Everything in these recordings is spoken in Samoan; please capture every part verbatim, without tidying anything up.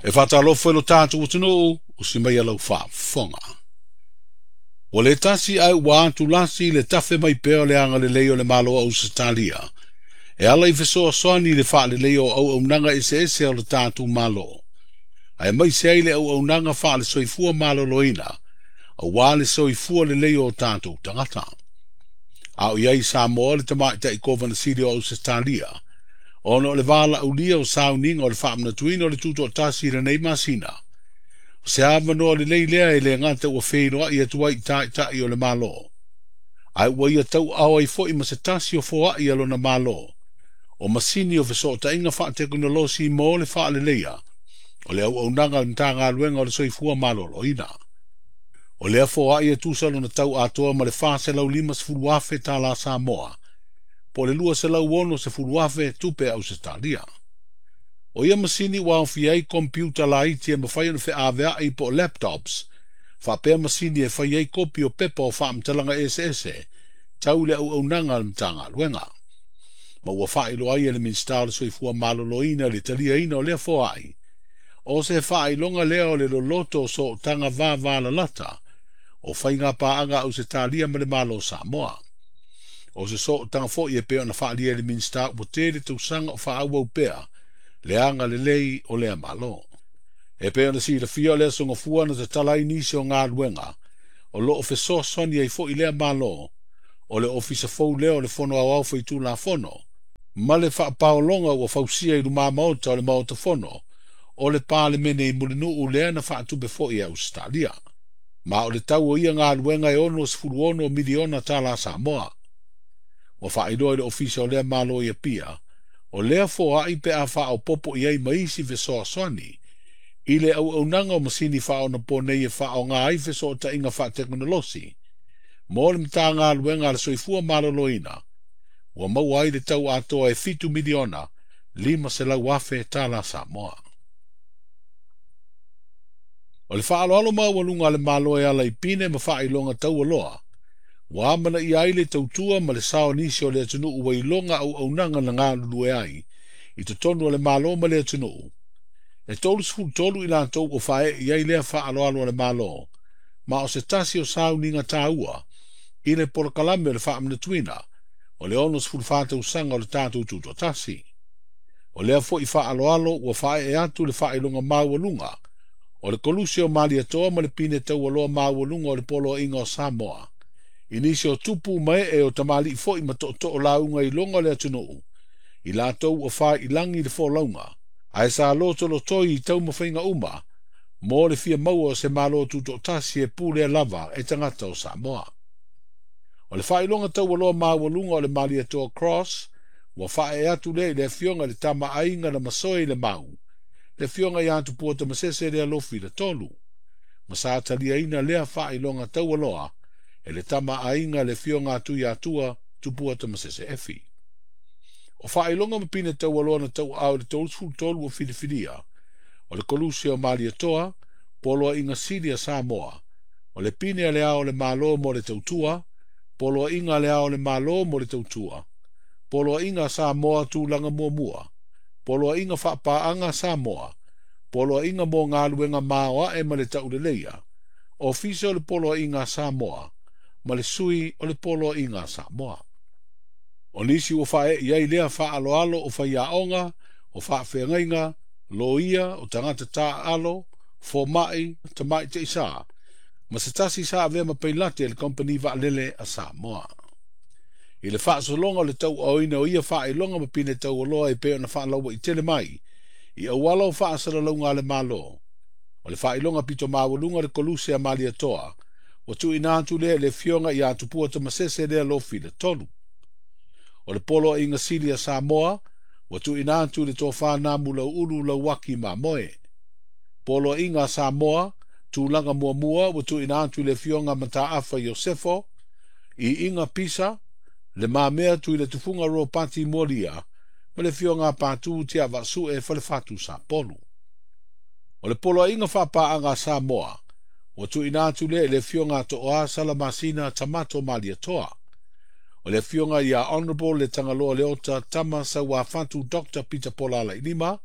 E faatalofa i lo tatou atunuu, usi mai lau faafofoga. Ua le tasi ae ua atulasi le tafe mai pea o le agalelei o le Malo o Ausetalia, e ala i fesoasoani i le faaleleia o auaunaga eseese o le tatou Malo, aemaise ai le auaunaga faale-soifua maloloina, aua le soifua lelei o tatou tagata. A o i ai i Samoa le tamaitai Kovana Sili o Ausetalia, ona o le valaaulia o sauniga o le faamanatuina o le tutoatasi i lenei masina, o se avanoa lelei lea e le gata ua feiloai atu ai i taitai o le Malo, ae ua ia tauaao ai foi ma se tasi o foai a lona Malo, o masini o fesootaiga faatekonolosi mo le faaleleia o le auaunaga a le Matagaluega o le Soifua Maloloina. O lea foai e tusa lona tau atoa ma le fa selau lima sefulu afe tala Samoa, po le lua selau ono sefulu afe tupe Ausetalia. O ia masini ua aofia ai kompiuta laiti e mafai ona feaveai po o laptops, faapea masini e fai ai kopi o pepa o faamatalaga eseese tau le auaunaga a le Matagaluega. Ma ua faailoa ai e le Minisita o le Soifua Maloloina le taliaina o lea foai, o se faailoga lea o le loloto o sootaga vavalalata o faiga paaga Ausetalia ma le Malo o Samoa. O se sootaga foi e pei ona faaalia e le Minisita ua tele tausaga o faaauau pea le agalelei o lea Malo. E pei ona silafia o le aso Gafua na tatala ai nisi o galuega o loo fesoasoani ai foi lea Malo o le Ofisa Fou lea o le Fono Aoao Faitulafono ma le faapaologa ua fausia i luma maota o le Maota Fono o le Palemene i Mulinuu lea na faatupe foi e Ausetalia. Ma o le tau o ia galuega e ono sefulu ono miliona tala Samoa. Ua faailoa i le Ofisa o lea Malo i Apia, o lea foai pe a faaopopo i ai ma isi fesoasoani i le auaunaga o masini faaonaponei e faaaoga ai fesootaiga faatekonolosi mo le Matagaluega a le Soifua Maloloina, ua maua ai le tau atoa e fitu miliona lima selau afe tala Samoa. O le faaaloalo maualuga a le Malo e ala i pine ma faailoga taualoa, ua amanaia ai le tautua ma le sao nisi o le atunuu ua iloga auaunaga na galulue ai i totonu o le Malo ma le atunuu. E tolu sefulu tolu i latou ua faaee i ai lea faaaloalo a le Malo, ma o se tasi o sauniga taua i le polokalame o le faamanatuina o le ono sefulu fa tausaga o le tatou tutoatasi. O lea foi faaaloalo ua faaee atu le faailoga maualuga o le Koluse o Malietoa ma le pine taualoa maualuga o le Poloaiga o Samoa, i nisi o tupu ma ee o tamalii foi ma tootoo lauga i loga o le atunuu, i latou ua faailangi le folauga, ae sa lotolotoi i taumafaiga uma mo le fia maua o se Malo tutoatasi e pulea lava e tagata o Samoa. O le faailoga taualoa maualuga o le Malietoa Cross ua faaee atu lea i le afioga i le tamaaiga na masoe i le mau, le afioga ia Tupua Tamasese lea lofi le tolu, ma sa taliaina lea faailoga taualoa e le tamaaiga le afioga atu ia Atua Tupua Tamasese Efi. O faailoga ma pine taualoa na tauaao i le tolu sefulu tolu o filifilia, o le Koluse o Malietoa, Poloaiga Sili a Samoa, o le pine a le ao o le Malo mo le tautua, Poloaiga a le ao o le Malo mo le tautua, Poloaiga a Samoa tulaga muamua, Poloaiga faapaaga Samoa, Poloaiga mo galuega maoae ma le tauleleia, Ofisa o le Poloaiga a Samoa, ma le sui o le Poloaiga a Samoa. O nisi ua faaee i ai lea faaaloalo o faiaoga, o faafeagaiga, loia, o tagata taaalo, fomai, tamaitaisa, ma se tasi sa avea ma pailate le kompani vaalele a Samoa. I le faasologa o le tauaoina o ia faailoga ma pine taualoa e pei ona faalauaitele mai i auala o faasalalauga a le Malo, o le faailoga pito maualuga o le Koluse a Malietoa, ua tuuina atu lea i le afioga ia Tupua Tamasese lea lofi le tolu. O le Poloaiga Sili a Samoa, ua tuuina atu i le tofa Namu Lauulu Lauaki Mamoe. Poloaiga a Samoa, tulaga muamua ua tuuina atu i le afioga Mataafa Iosefo, i Iga Pisa, le mamea tui le tufuga Ropati Molia, ma le afioga Patu Tiavasue Falefatu Sapolu. O le Poloaiga faapaaga a Samoa, ua tuuina atu lea i le afioga Toa Salamasina Tamato Malietoa. O le afioga ia Honorable le Tagaloa Leota Tama Sauafatu Doctor Peter Pola Lailima,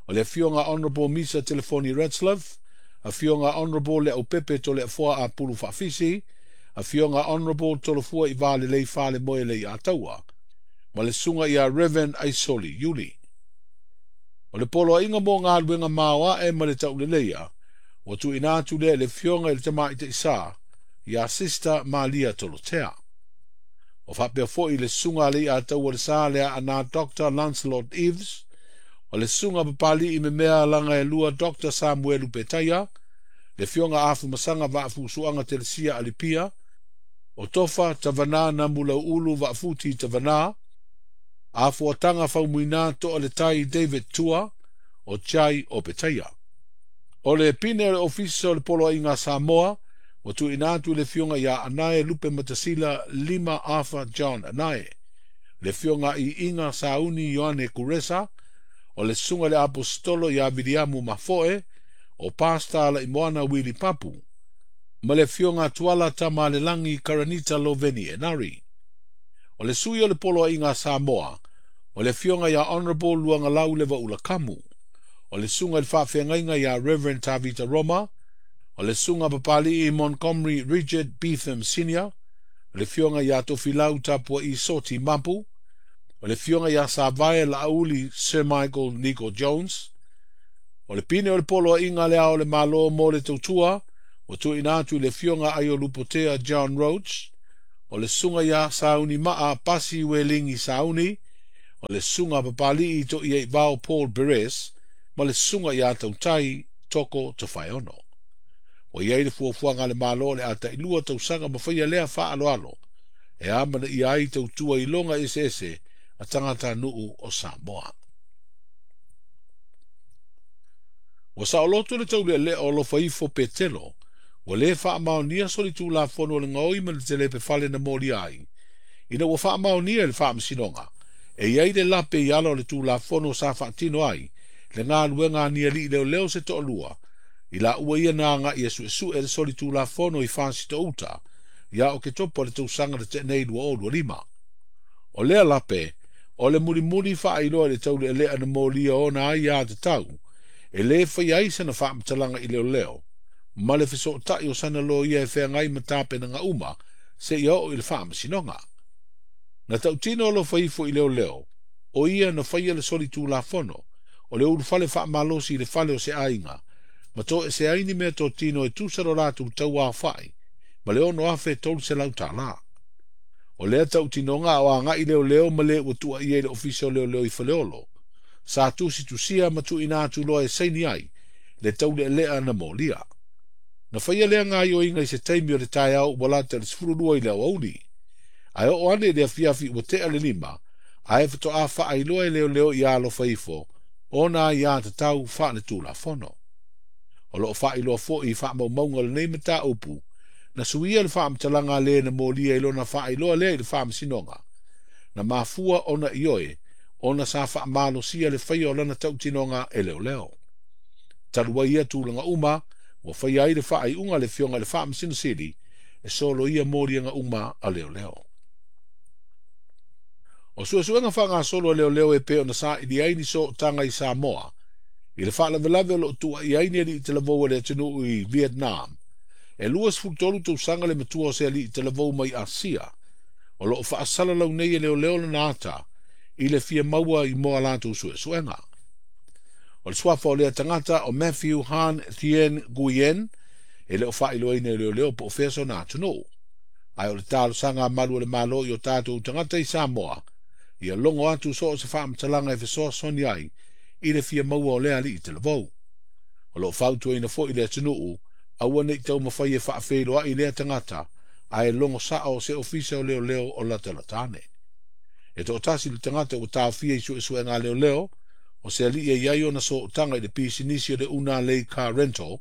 O le afioga Honorable Misa Telefoni Retzlaff, afioga Honorable Leaupepe Toleafoa Apulu Faafisi, afioga Honorable Tolofua i Valelei Falemoe Leiataua, ma le susuga ia Reverend Aisoli Iuli. O le poloaiga mo galuega maoae ma le tauleleia, ua tuuina atu lea i le afioga i le Tamaitaisa, ia Sister Malia Tolotea. O faapea foi le susuga a Leiataua le Sa le Aana Doctor Lancelot Eves, o le susuga Papali'i Memea Laga e lua Doctor Samuelu Petaia, le afioga Afumasaga Vaafusuaga Telesia Alipia, o Tofa Tavana Namulau'ulu Vaafuti Tavana, Afuataga Faumuina To'a le Tai David Tua, o Chai o Petaia. O le pine o le ofisa o le Poloaiga a Samoa, ua tuuina atu i le afioga ia Anae Lupe Matasila Lima Arthur John Anae, le afioga i Iga Sauni Ioane Kuresa, o le susuga i le Aposetolo ia Viliamu Mafoe, o Pasta Laimoana Wili Papu, ma le afioga Tuala Tamalelagi Karanita Loveni Enari. O le sui o le Poloaiga a Samoa, o le afioga ia Honorable Luagalau Levaula Kamu, o le susuga i le faafeagaiga ia Reverend Tavita Roma, o le susuga Papali'i Montgomery Richard Beetham Senior, o le afioga ia Tofilau Tapua'i Soti Mapu, o le afioga ia Savae Laauli Sir Michael Nico Jones, o le pine o le Poloaiga le Ao o le Malo mo le tautua, ua tuuina atu i le afioga Aiolupotea John Roach, o le susuga ia Sauni Maa Pasi Welingi Sauni, o le susuga Papali'i To'iaivao Paul Perez, ma le susuga ia Tautai Toko Tofaeono. Ua iai le fuafuaga a le Malo o le a tailua tausaga ma faia lea faaaloalo, e amanaia ai tautua iloga eseese a tagatanuu o Samoa. Ua saoloto le taulealea o alofa ifo Petelo, ua lē faamaonia solitulafono o le gaoi ma le telepe fale na molia ai, ina ua faamaonia e le faamasinoga, e iai le lape i ala o le tulafono sa faatino ai, le galuega a ni ali'i leoleo se to'alua, i laua ia na aga'i e su'esu'e le solitulafono i Fasitouta, ia Oketopa o le tausaga na te'a nei lua o lua lima. O lea lape, o le mulimuli faailoa i le taulealea na molia ona ai aiātatau, e lē faia ai sana faamatalaga i leoleo, ma le fesoota'i o sana loia e feagai ma tapenaga uma seia oo i le faamasinoga. Na tautino alofa ifo i leoleo, o ia na faia le solitulafono, o le ulufale faamalosi i le fale o se aiga, ma to'eseai ni mea totino e tusa lo latou tauaofa'i, ma le ono afe tolu selau tālā. O lea tautinoga o aga'i leoleo ma le ua tu'aia i le ofisa o leoleo i Faleolo, sa tusitusia ma tuuina atu loa e saini ai, le taulealea na molia. Na faia lea gaoioiga i se taimi o le taeao ua lata i le sefululua i le aoauli. Ae oo ane i le afiafi ua te'a le lima, ae faatoa faailoa e leoleo ia alofa ifo, ona aiātatau faaletulafono. O loo faailoa fo'i i faamaumauga o lenei mataupu, na suia le faamatalaga a le na molia i lona faailoa lea i le faamasinoga. Na mafua ona ioe, ona sa faamalosia le faia o lana tautinoga e leoleo. Talu ai ia tulaga uma, ua faia ai le faaiuga a le afioga i le Faamasino Sili, e soloia moliaga uma a leoleo. O suesuega faagasolo a leoleo e pei ona saili ai ni sootaga i Samoa, i le faalavelave o loo tuuaia ai ni ali'i talavou o le atunuu i Vietnam. E luasefulutolu tausaga le matua o se ali'i talavou mai Asia, o loo faasalalau nei e leoleo lona ata, i le fia maua i mo a latou suesuega. O le suafa o lea tagata o Matthew Han Thien Nguyen, e le o faailoaina e leoleo po o fea sona atunuu. Ae o le talosaga a malu o le Malo i o tatou tagata i Samoa, ia logo atu so o se faamatalaga e fesoasoani ai i le fia maua o lea ali'i talavou. O loo fautuaina foi le atunuu, aua nei taumafai e faafeiloai lea tagata, ae logo sa'o se ofisa o leoleo o latalata ane. E to'atasi le tagata ua taofia i suesuega a leoleo, o se ali'i e iai ona sootaga i le pisinisi o le Una Lei Car Rental,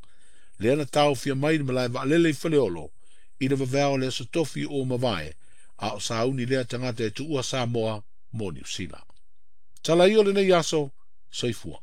lea na taofia mai le malae vaalele i Faleolo, i le vaveao o le aso Tofi ua mavae, a o sauni lea tagata e tuua Samoa mo Niu Sila. Tala ia o lenei aso, soifua.